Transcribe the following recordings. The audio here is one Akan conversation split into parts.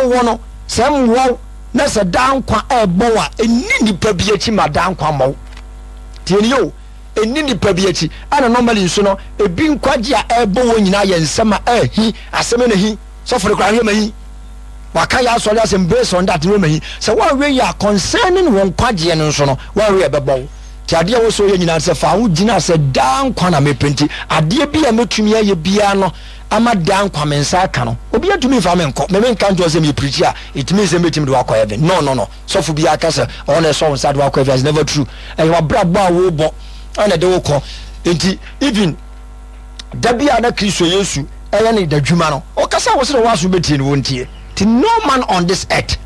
a wowɔ no, sɛ ɛmmoa wo na sɛ daa nkwa ɛrebɔ wo a, ɛnni nipa bi akyi ma daa nkwa mmɔ wo. Tie nie o, ɛnni nipa bi akyi. Ɛna normally nso no, ebi nkwagye a ɛrebɔ wɔn nyinaa yɛ nsɛm a ɛhi, asɛm na hi, sɔfo no koraa hwɛ ma hi. Waka yɛ asɔre asɛm based on that no ma hi. Sɛ woanhwɛ yie a, concerning wɔn nkwagyeɛ no nso no, woanhwɛ yie a ɛbɛbɔ wo. Nti adeɛ a ɛwɔ sɛ ɔyɛ nyinaa ne sɛ fa wo gyina sɛ daa nkwa na mepɛ nti adeɛ bi a mɛtumi ayɛ biara no ama daa nkwa me nsa aka no obiara ntumi mfa me nkɔ me menka ntoɔ sɛ meyɛ preacher a it means sɛ mɛtumi de wakɔ heaven no no no sɔfo biara ka sɛ ɔno na ɛsɔ wo nsa de wakɔ heaven it's never true ɛyɛ wabrabɔ a wobɔ ɛna ɛde wo kɔ nti even da bi a na Kristo Yesu ɛyɛ ne dadwuma no ɔkasa wɔ sɛ na wɔaso bɛtie no wɔntie nti no man on this earth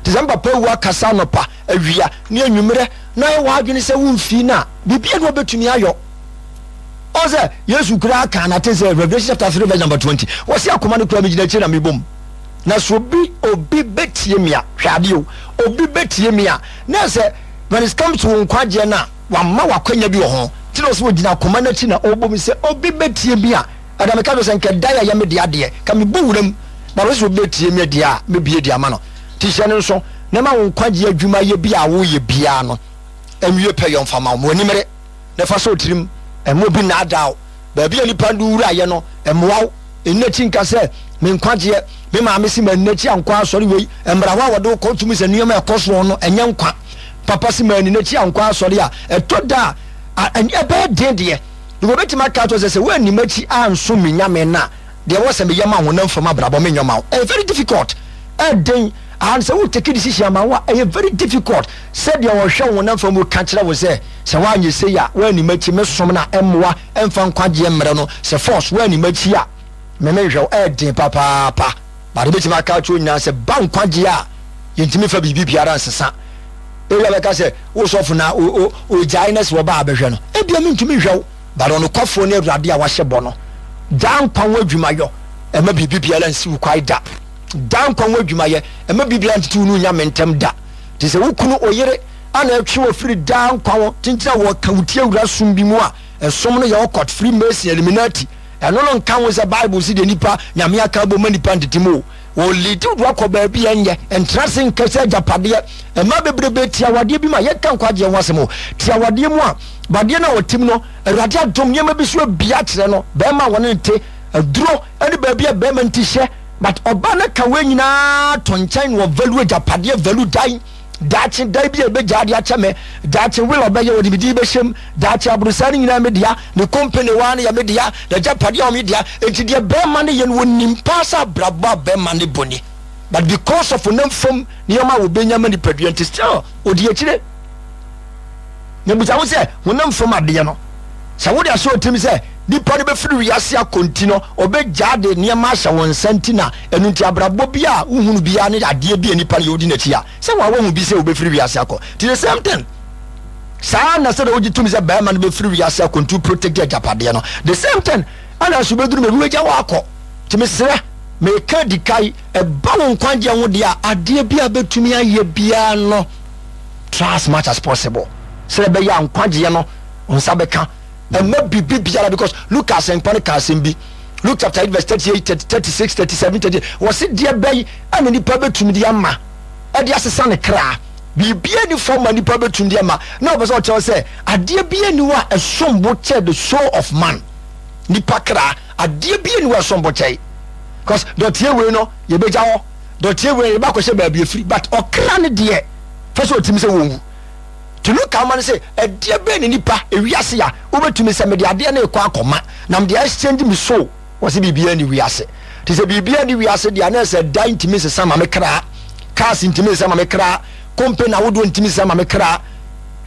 te sɛ mpapa wu akasa anɔpa awia ne anwummerɛ na ayɛ w'adwene sɛ womfii no a, biribiara ni wɔbɛtumi ayɔ. Ɔn sɛ Yesu koraa kaa no ate sɛ Revelation chapter 3 verse number 20. Wɔse akoma no koraa megyina akyire na mebom. Na sɛ obi obi bɛtie me a, hwɛ adeɛ o, obi bɛtie me a, na sɛ when it comes to wo nkwagyeɛ no a, wama w'akwanya bi wɔ ho. Nti na ɔsɛ wɔgyina akoma no akyi na ɔbom sɛ obi bɛtie me a, ɛda meka kyerɛ sɛ nka da yɛ yɛ me dea deɛ, ka mebɔ wuram, but ɔsɛ sɛ obi bɛtie me deɛ a, mɛbie de ama no. Nti hyɛ no nso. Na ma wo nkwagye adwumayɛ bi a woreyɛ biara no nwie pɛyɔ mfa ma wo. Ma w'ani mmere na fa sɔ wo tirim. Mma obi nnaadaa wo. Baabi a nnipa de wo wuraeɛ no, mmoa wo. Nni akyi nka sɛ, Me nkwagyeɛ, me maame se manni n'akyi ankɔ asɔre wei. Mmra hɔ a wɔde wo kɔ tumi sɛ nneɛma a ɛkɔ soɔ no, ɛnyɛ nkwa. Papa se manni n'akyi ankɔ asɔre a, ɛtɔ da a, ɛbɛyɛ den deɛ. Wɔbɛtumi aka akyerɛ wo sɛ, sɛ woanni m'akyi ansom me Nyame no a, deɛ ɛwɔ sɛ meyɛ ma honam fam abrabɔ menyɔ ma wo. Ɛyɛ very difficult. Ɛden and sɛ wo take decision ama wo a ɛyɛ very difficult sɛ deɛ ɔhwɛ wo honam fam ka kyerɛ wo sɛ sɛ woanyɛ sei a woanni m'akyi me som no a ɛmmoa ɛmfa nkwagyeɛ mmerɛ no sɛ force woanni m'akyi a me menhwɛ wo. Ɛden papaapa but wobɛtumi aka akyerɛ wo nyinaa sɛ ba nkwagyeɛ a yɛntumi fa biribi biara nsesa. Ebia bɛka sɛ wo sɔfo na ogyae na sɛ wɔba abɛhwɛ no ebia mentumi nhwɛ wo. But ɔnokwafoɔ ne Awurade a wahyɛ bɔ no. Daa nkwa ho adwumayɔ, ɛmma biribi biara nsi wo kwae da. Daa nkwa ho adwumayɛ, ɛmma biribi biara ntete wo ne Onyame ntam da. Te sɛ wo kunu, oyere, a na ɛtwe wo afiri daa nkwa ho, kyenkyen a wɔka wo ti awura som bi mu a, ɛsom no yɛ occult, Freemason, Illuminati. Ɛno no nka ho sɛ Bible se deɛ nipa, Nyame aka abom ma nipa ntete mu o. Wɔleadi wo de wakɔ baabi a ɛnyɛ. Ntra ase nka sɛ agyapadeɛ. Mmaa bebrebe te awadeɛ bi mu a, yɛnka nkwagyeɛ ho asɛm o, te awadeɛ mu a, badeɛ no a ɔte mu no, Awurade adom nneɛma bi so abue akyerɛ no, barima a wɔne no te, aduro ne baabi a barima no ti hyɛ, but ɔbaa no ka wei nyinaa to nkyɛn na ɔvalue agyapadeɛ, value dan, daakye dan bi a ɛbɛgyaa de akyɛ me, daakye will ɔbɛyɛ wɔde me din bɛhyɛ mu, daakye aborosan no nyinaa me dea, ne company waa no yɛ me dea, n'agyapadeɛ a wɔn dea, enti deɛ barima no yɛ no wɔnim paa sɛ abrabɔ a barima no bɔ ni, but because of honam fam nneɛma a wɔbɛnya ma nipadua nti still ɔdi akyire. Na bisa ho sɛ, honam fam adeɛ no, sɛ wode ahyɛ wo tirim sɛ nipa no bɛfiri wiase akɔ nti no, ɔbɛgyaa de nneɛma ahyɛ wo nsa nti na ɛno nti abrabɔ bi a wohunu biara ne adeɛ bi a nipa no yɛ wodi n'akyi a, sɛ waa woahu bi sɛ wobɛfiri wiase akɔ. Nti the same thing, saa na sɛdeɛ wogye tom sɛ barima no bɛfiri wiase akɔ nti wo protect agyapadeɛ no, the same thing ɛna nso bɛduru baabi wagya wo akɔ. Nti mesrɛ, meka di kae, ɛba wo nkwagyeɛ ho deɛ a, adeɛ bi a bɛtumi ayɛ biara no, Try as much as possible sɛ ɛbɛyɛ a nkwagyeɛ no nsa bɛka. Ɛmma biribi biara because Luke asɛmpa no ka asɛm bi. Luke chapter 8 verse 38, 36, 37, 38. Wɔse deɛ bɛyi ɛna nipa bɛtumi de ama ɛde asesa ne kra. Biribiara ni fam ma nipa bɛtumi de ama. Na ɔpɛ sɛ ɔkyerɛ sɛ adeɛ bi ani hɔ a ɛsom bo kyɛ the soul of man. Nipa kra adeɛ bi ani hɔ a ɛsom bo kyɛ. Because dɔteɛ wei no yɛbɛgya hɔ. Dɔteɛ wei yɛbɛ akɔhyɛ baabi afiri but ɔkra no deɛ fɛ sɛ ɔtumi sɛ wɔnwu nti Luka ama no sɛ ɛdeɛ bɛn ne nipa ewiase a wobɛtumi sɛ mede adeɛ no rekɔ akɔma na mede exchange me soul wɔ sɛ biribiara ni wiase nti sɛ biribiara ni wiase deɛ na ɛsɛ dan ntumi nsesa ma me kra, cars ntumi nsesa ma me kra, company ahodoɔ ntumi nsesa ma me kra.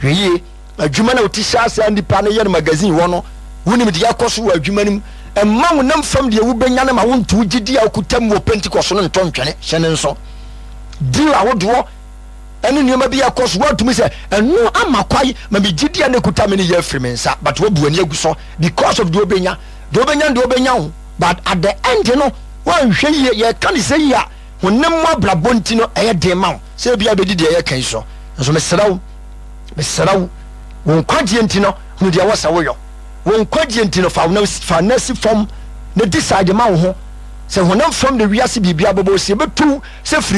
Hwɛ yie. Adwuma no a wote hyɛ ase a nnipa no yɛ no magazine hɔ no, wonim deɛ ɛkɔ so wɔ adwuma no mu. Mma honam fam deɛ wobɛnya no ma wonto wo gyedie a wokuta mu wɔ Pentecost no nto ntwene. Hyɛ no nso. Deal ahodoɔ ne nneɛma bi a ɛkɔ so, woatumi sɛ, ɛno ama kwae ma me gyedie a na ɛkuta me no yɛ afiri me nsa, but woabu w'ani agu so because of deɛ wobɛnya. Deɛ wobɛnya no deɛ wobɛnya o, but at the end no, woanhwɛ yie, yɛka no sɛ yie a, honam mu abrabɔ nti no, ɛyɛ den ma wo sɛ ebia wobɛdi deɛ yɛka yi so. Nso mesrɛ wo, Mesrɛ wo, wo nkwagyeɛ nti no, hunu deɛ ɛwɔ sɛ woyɔ. Wo nkwagyeɛ nti no, fa wo fa nan si fam na decide ma wo ho sɛ honam fam na wiase biribiara bɛbɔ wo si ɛbɛtu wo sɛ firi.